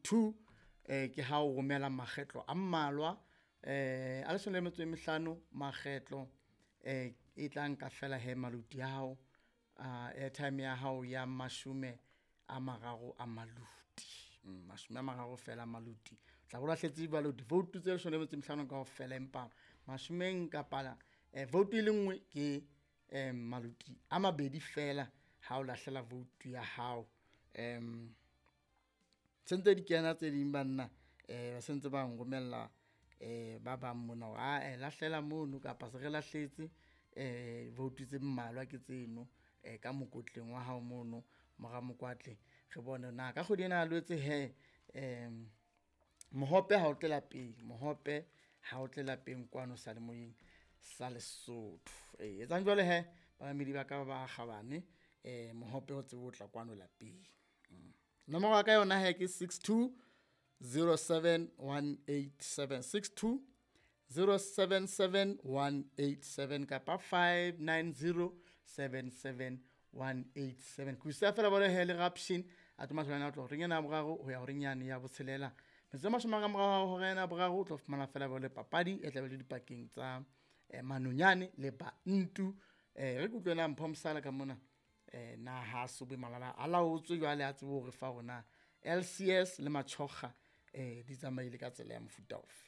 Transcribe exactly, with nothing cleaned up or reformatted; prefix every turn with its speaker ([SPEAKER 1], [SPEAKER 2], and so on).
[SPEAKER 1] Two eh ke ha o romela makgetlo a mmalwa eh a leshome le metso e mehlano makgetlo eh e tla nka fela he maluti a hao a airtime ya hao ya mashome a mararo a maluti. Mashome a mararo fela a maluti. Tla bo lahletse jwalo di-vote tse leshome le metso e mehlano kaofela, empa mashomeng kapa vote e le nngwe ke maluti a mabedi fela ha o lahlela vote ya hao. Sentse di kena tse ding banna ba sentse ba nromella ba bang mona hore ae lahlela mono kapa se re lahletse vote tse mmalwa ke tseno ka mokotleng wa hao mono mora Mokwatle. Re bone na ka kgwedi ena ya Lwetse hee mohope ha o tle lapeng, mohope ha o tle lapeng kwano seyalemoyeng sa Lesotho. E etsang jwalo hee bamamedi ba ka ba kgabane mohope o tsebe ho tla kwano lapeng. Nomoro ya ka yona hee ke six two zero seven one eight seven, six two zero seven seven one eight seven kapa five nine zero seven seven one eight seven. Ke o siya feela jwale hee le Ruption a tlo matha ho tloha horeng ena ya boraro ho ya horeng yane ya botshelela. Metsotso e mashome ka mora hora ena ya boraro o tlo fumana feela jwale papadi e tlabe le dipakeng tsa Manonyane le Bantu. Re ke utlwe na Mpho Mosala ka mona na ha so be malala a laotswe jwale a tsebe hore fa hore na L C S le Matjhokga di tsamaile ka tsela ya mofuta ofe.